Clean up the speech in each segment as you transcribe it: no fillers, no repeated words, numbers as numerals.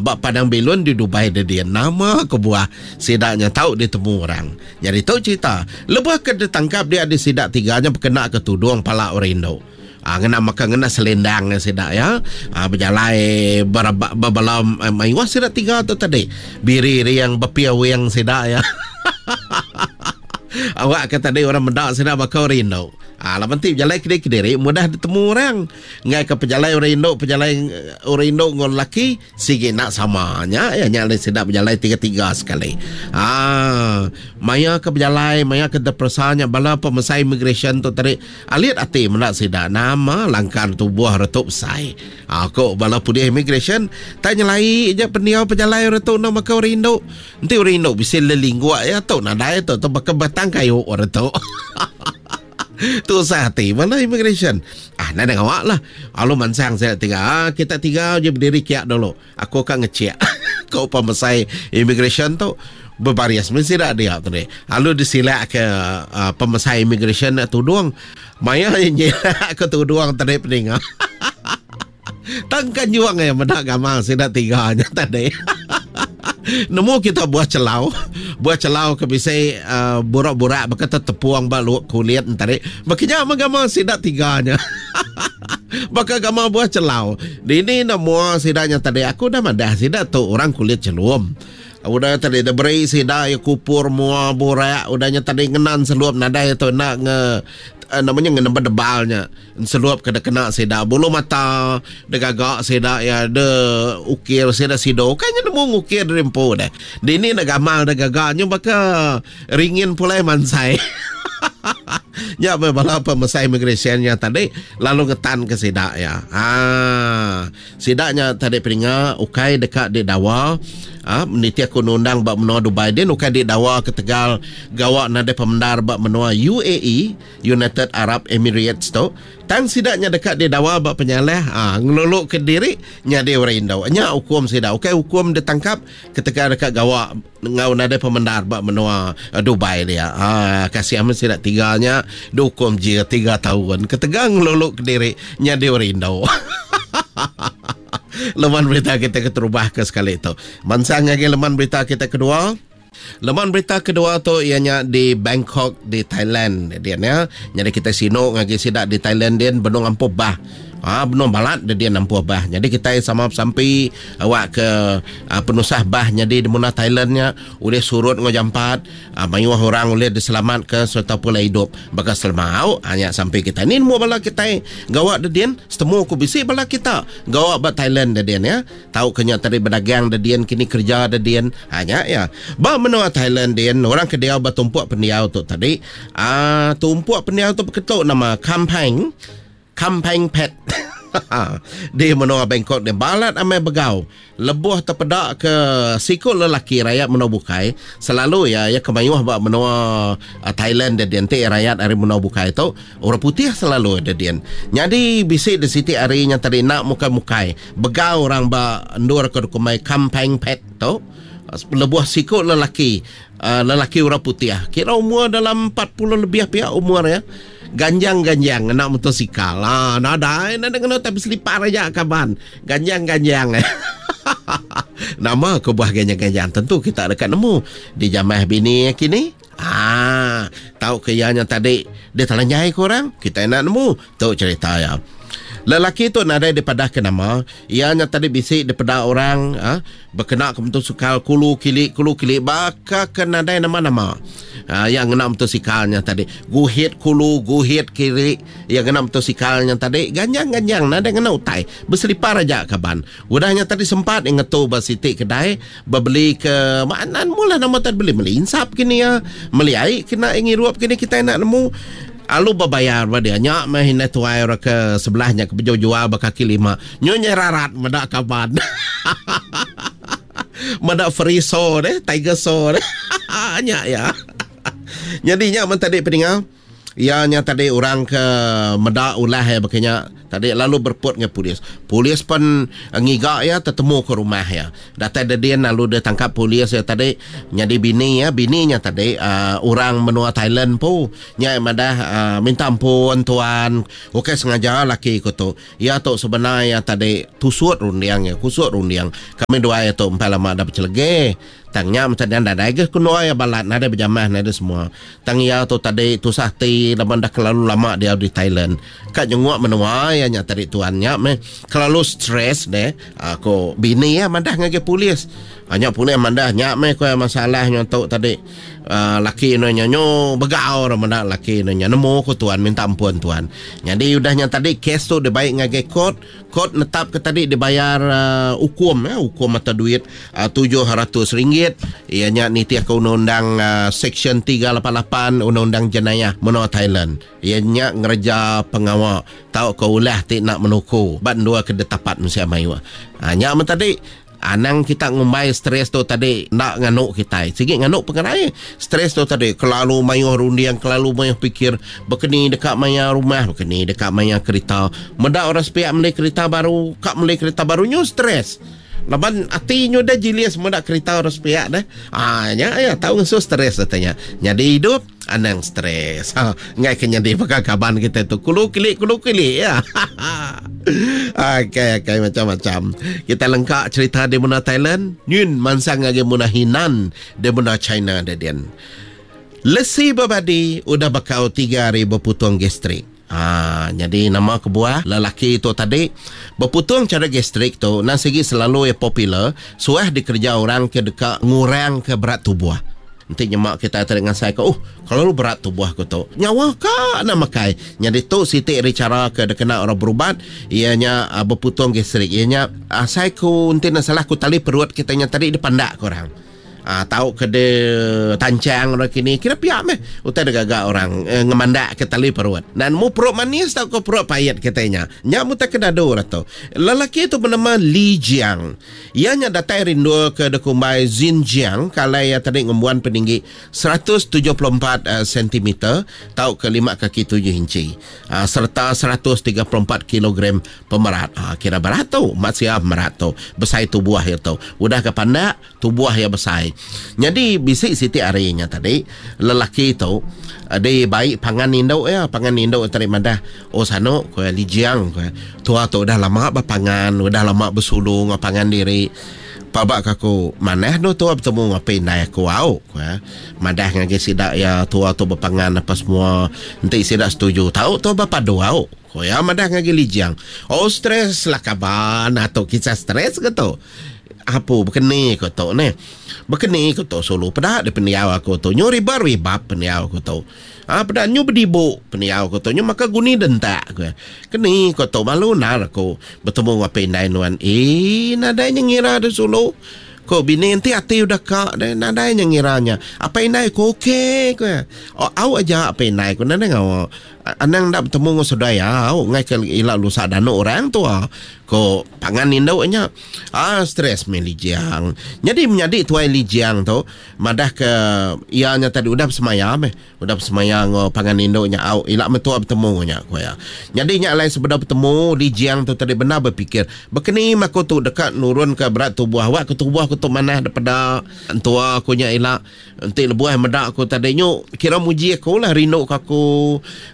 ba padang bilun di Dubai dedin. Nama kebuah sida nya tau ditemu orang. Nyadi tu cherita lebuh ke ditangkap dia di sida tiga nya bekena ke tudung pala orang indu. Aa ngena maka ngena selendang sida iya aa bejalai bereba bebala mayuh sida tiga tu tadi. Biri riang bepia wing sida iya. Awak ke tadi orang meda sida baka orang indu. Aa laban ti bejalai kediri kediri mudah ditemu orang. Enggai ke pejalai orang indu pejalai orang indu enggau lelaki sigi enda sama. Nya iya nya alai sida bejalai tiga-tiga sekali. Aa maya ke bejalai maya ke teperesa nya bala pemesai immigration tu tadi alit ati meda sida nama langkar tubuh retu besai. Aa ku bala pulih immigration tak nyelai ja pendiau pejalai retu enda baka orang indu. Enti orang indu bisi lelingguk iya tu nadai tu tu baka batang kayu retu. Tusah ati bala immigration. Ah nadai ngawa lah. Lalu mansang sida tiga. Ah kita tiga je berdiri kiak dulu. Aku ka ngechik. Ko pemesai immigration tu bebaris meh sida dia tadi. Lalu disilak ke uh, pemesai immigration tudung. Maya nyilak ke tudung tadi peninga. Tang kan juang iya meda gamal sida tiga nya tadi. Nemu kita buah celau, buah celau ke bisi uh, burak-burak baka tetepung ba luak kulit tadi. Baka nya meh gamal sida tiga nya. Baka gamal buah celau. Dini enda mua sida nya tadi aku dah madah sida tu orang kulit chelum. Udah tadi dah beri sida iya kupur mua burak udah nya tadi ngenan selup nadai tu enda nge eh, namanya ngena bedebal nya. Enselup ke dikena sida bulu mata digaga sida iya de ukir sida sido ukai nya nemu ngukir diri empu deh. Dini ne gamal de gaga nyu baka ringin pulai mansai. Nya meh bala pemesai immigration nya tadi lalu ngetan ke sida iya. Haa sida nya tadi peninga ukai deka didawa aa nitih ku undang-undang ba menua Dubai din ukai didawa ketegal gawa nadai pemendar ba menua UAE. United Arab Emirates tu, tang sida nya deka didawa ba penyalah aa ngeluluka diri nyadi orang indu. Nya ukum sida, ukai ukum ditangkap ketegal deka gawa enggau nadai pemendar ba menua Dubai dia. Aa kasih amat sida tiga nya diukum jil tiga taun ketegal ngeluluka diri nyadi orang indu. Leman berita kita keterubah ke sekali tu. Mansang ngagai leman berita kita kedua. Leman berita kedua tu iya nya di Bangkok di Thailand dian ya. Nyadi kitai sinu ngagai sida di Thailand din benung ampuh bah. Ha benung balat de din ampuh bah. Nyadi kitai sama besampi awak ke ha, penusah bah nyadi di menua Thailand nya ulih surut enggau jampat, ha, mayuh orang ulih diselamatka sereta pulai idup baka selama. Au ha, nya sampi kitai. Ni nemu bala kitai gawa de din, setemu ku bisi bala kita gawa ba Thailand de din ya. Tau ke nya tadi bedagang de din kini kerja de din. Ha nya iya. Ba menua Thailand din orang ke diau ba tumpuk pendiau tu tadi aaa tumpuk pendiau tu beketu nama Kamphaeng Kamphaeng Phet di menua Bangkok din balat amai begau lebuh tepeda ke siku lelaki rayat menua bukai selalu iya iya ke mayuh ba menua Thailand din enti rayat ari menua bukai tu Orang putih selalu ada din. Nyadi bisi di siti hari nya tadi enda mukai-mukai begau orang ba endur ke dikumbai Kamphaeng Phet tu lebuh siku lelaki lelaki orang putih kira umur dalam 40 lebih pia umur iya ganjang-ganjang ngena motosikal. Ha nadai nadai ngena tapi selipar aja kaban. Ganjang-ganjang. Nama kebuah ganjang-ganjang tentu kita deka nemu dijamah bini iya kini. Aa, tau ke iya nya tadi ditelanjai ke orang, kitai enda nemu. Tu cherita iya. Lelaki tu nadai dipadahka nama, iya nya tadi bisi dipeda orang aa bekena ke motosikal kulu kili kulu kili baka ke nadai nama-nama. Aa iya ngena motosikal nya tadi guhit kulu guhit kili iya ngena motosikal nya tadi ganjang-ganjang nadai ngena utai beselipar aja kaban. Udah nya tadi sempat iya ngetu ba siti kedai Bebeli ke mana nemu lah nama tadi beli meli insap kini ya meli ai kena ngirup kini kitai enda nemu alu bebayar ba dia nya meh indai tuai orang ke sebelah nya ke bejual jual ba kaki lima nyu nyerarat meda kaban meda friso deh tiger so deh nya ya nyadi nya men tadi peninga Iya nya tadi orang ke meda ulah iya baka nya. Tadi lalu berepot ngagai polis. Polis pen ngiga iya tetemu ke rumah iya. Datai dedin lalu ditangkap polis iya tadi nyadi bini iya. Bini nya tadi uhh orang menua Thailand empu. Nya iya madah uhh minta ampun tuan ukai sengaja laki ku tu. Iya tu sebenar iya tadi tusut runding iya kusut runding. Kami duai iya tu empai lama dah bechelege. Tang nya meh tadi nadai ga kenua iya balat nadai bejamah nadai semua. Tang iya tu tadi tusah ati laban dah kelalu lama diau di Thailand. Ka nyenguk menua iya nya tadi tuan nya meh kelalu stress deh ko bini iya madah ngagai polis. Nya polis madah nya meh ko iya masalah nya tu tadi uhh laki ne nya nyu begau ra meda laki ne nya nemu ko tuan minta ampun tuan. Nyadi udah nya tadi kes tu dibai ngagai court. Kot netapka tadi dibayar ukum ya, ukum atau duit RM700 iya nya nitihka undang-undang Seksyen 388 Undang-undang Jenayah Menua Thailand iya nya ngereja pengawa tauka ulah ti enda menuku ba endur ke ditapat mensia mayuh. Nya meh tadi. Anang kita ngumbai stres tu tadi enda nganu kitai. Sigi nganu pengerai. Stres tu tadi kelalu mayuh runding, kelalu mayuh pikir. Bekeni deka maya rumah, bekeni deka maya kerita. Meda orang sepiak meli kerita baru, ka meli kerita baru nyu stres. Laban ati nyu deh jilis meda kerita orang sepiak deh. Haa nya iya tau ngesu stres reti nya. Nyadi idup. Anang stres. Ha, enggai ke nyadi baka kaban kita tu. Kulu kili kulu kili ya. Okey okey macam-macam. Kita lengka cerita di menua Thailand, nyun mansang ngagai menua Hinan di menua China dedin. Lesi bebadi udah bekau tiga hari beputung gastrik. Ha, nyadi nama kebuah lelaki tu tadi beputung chara gastrik tu nang sigi selalu iya popular suah dikereja orang ke deka ngurangka berat tubuh. Enti nyema kitai tadi ngasaika oh kelalu berat tubuh aku tu. Nyawa ka enda makai. Nyadi tu siti ari chara ke dikena orang berubat iya nya beputung gastrik iya nya asai ku enti enda salah ku tali perut kitai nya tadi dipandakka orang. Aa tau ke de tanchang orang kini kira pia meh utai digaga orang ngemandak ke tali perut. Nan mu perut manis tauka perut pait kitai nya. Nya mu utai ke dadu orang tu. Lelaki tu benama Li Jiang. Iya nya datai ari endur ke dikumbai Xinjiang ke alai iya tadi ngembuan peninggi 174 sentimeter tauka lima kaki tujuh inchi sereta 134 kilogram pemerat. Kira berat tu mat sia pemerat tu. Besai tubuh iya tu. Udah ke pandak Tubuh iya besai. Nyadi bisi siti hari nya tadi, lelaki tu dibai pangan indu iya. Pangan indu iya tadi madah, Oh sanu, ku iya, Lijiang, ku iya, tua tu udah lama bepangan, udah lama besulu enggau pangan diri. Paba ka aku, manah endur tua betemu enggau apai indai aku au, ku iya. Madah ngagai sida iya tua tu bepangan apa semua. Enti sida setuju, tau tua bepadu au, ku iya madah ngagai Lijiang. Oh stress lah kaban, atu kisah stress ke tu. Apu bekeni ku tu neh. Bekeni ku tu sulu peda deh pendiau aku tu nyu riba ribap pendiau aku tu. Ha peda nyu bedibu pendiau aku tu nyu maka guni dentak ku iya. Keni ku tu malu endar aku betemu enggau apai indai nuan. Eii nadai nya ngira deh sulu. Ku bini enti ati udah ka deh nadai nya ngira nya. Apai indai ku okey ku iya. Au aja apai indai ku nadai ngawa. Anang enda betemu enggau seduai au enggai ke ila lusa danu orang tua. Ko pangan indu nya. Ah stress meh Li Jiang. Nyadi menyadi tuai Li Jiang tu madah ke iya nya tadi udah besemaya meh. Udah besemaya enggau pangan indu nya au ila meh tua betemu nya ku iya. Nyadi nya alai sebedau betemu Li Jiang tu tadi bendar bepikir bekeni meh aku tu deka nurun ke berat tubuh awak ke tubuh aku tu manah daripada entua aku nya ila. Enti lebuh meda aku tadi nyu kira muji aku lah rindu ke aku.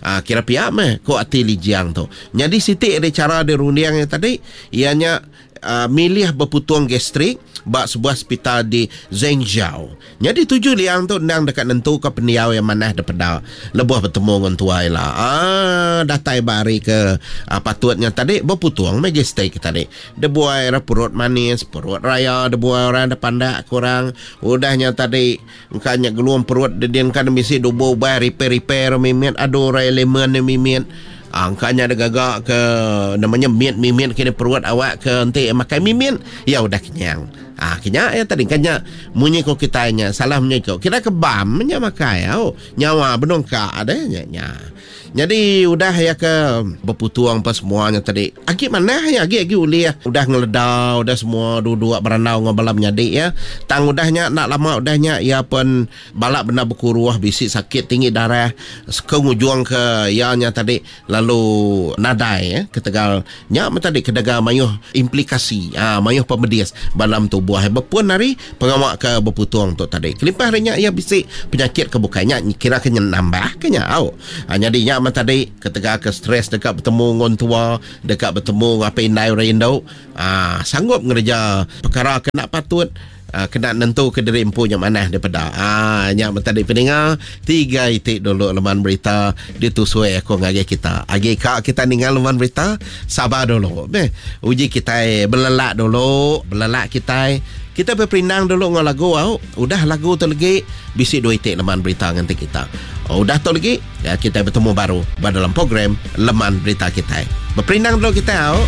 Aa kira pia meh ko ati Li Jiang tu. Nyadi siti ari chara dirunding iya tadi iya nya aa milih beputung gastrik ba sebuah sepital di Zhengzhou. Nyadi tuju Liang tu endang deka nentuka pendiau iya manah dipeda lebuh betemu enggau entua ila. Aa datai ba hari ke patut nya tadi beputung meh gastrik tadi. Debuai ra perut manis, perut raya debuai orang da pandak ke orang. Udah nya tadi engka nya gelung perut dedin ka bisi dubu ubai repair-repair mimit adu orang elemen ne mimit. Aa engka nya digaga ke nama nya mit mimit kini perut awak ke enti makai mimit iya udah kenyang. Aa kenya iya tadi engka nya munyi ko kitai nya salah munyi ko kira ke bam nya makai au nyawa benung ka deh nya nya. Nyadi udah iya ke beputung pa semua nya tadi. Agi manah iya agi agi ulih udah ngeleda udah semua duduk berandau enggau bala menyadi iya. Tang udah nya enda lama udah nya iya pen bala bendar bekuruh bisi sakit tinggi darah ke ngujung ke iya nya tadi lalu nadai eh ketegal nya meh tadi ketegal mayuh implikasi aaa mayuh pemedis ba dalam tubuh iya bepun ari pengawa ke beputung tu tadi. Kelimpah ari nya iya bisi penyakit ke bukai nya kira ke nambah ke nya au. Ha, nyadi nya meh tadi ketegal ke stres deka betemu enggau entua, deka betemu enggau apai indai orang indu, ha, sanggup ngereja pekara ke enda patut ha, kena nentuka diri empu nya manah dipeda. Ha, nya meh tadi peninga tiga iti dulu leman berita ditusui aku ngagai kita. Agi ka kita ninga leman berita, sabar dulu meh. Uji kitai belelak dulu, belelak kitai. Kita beperindang dulu enggau lagu au. Udah lagu tu legi bisi dua iti leman berita nganti kita. Udah tu legi ya, kita betemu baru ba dalam program leman berita kitai. Beperindang dulu kita au.